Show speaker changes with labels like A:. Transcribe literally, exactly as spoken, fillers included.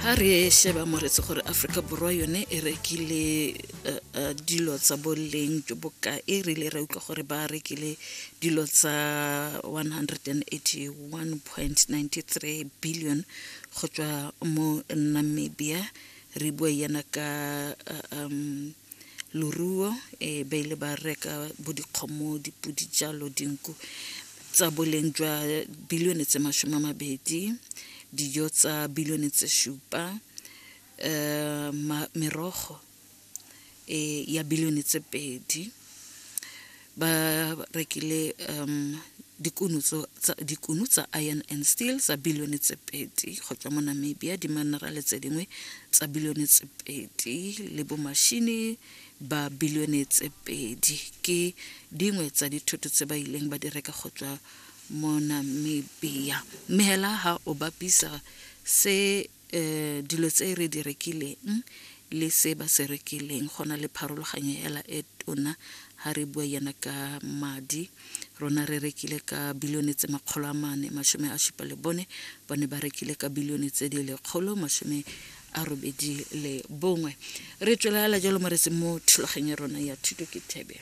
A: Ha re sheba moretse gore Aforika Borwa yone e rekile eh, eh, dilo tsa boleng jo bokae, re ile ra utlwa gore ba rekile dilo tsa one hundred eighty-one point nine three billion go tswa mo Namibia. Re bua yana ka eh, um, loruo, e ba ile ba reka bo dikgomo, dipodi, jalo dinku tsa boleng jwa bilione tse masome a mabedi, dijo tsa bilione tse supa, um merogo e ya bilione tse pedi. Ba rekile um dikuno tsa dikuno tsa iron and steel tsa bilione tse pedi go tswa mo Namibia, diminerale tse dingwe tsa bilione tse pedi le bo machine ba bilione tse pedi ke dingwe tsa dithoto tse ba ileng ba di reka go tswa mo Namibia. Mme hela ha o bapisa se um dilo tse re di rekileng le se ba se rekileng, go na le pharologanyo hela e tona. Ha re bua yana ka madi, rona re rekile ka bilione tse makgolo a mane masome a supa le bone, bone ba rekile ka bilione tse di lekgolo masome a robedi le bongwe. Re tswelela jalo moretse mo thulaganyo ya rona ya Thuto ke Thebe.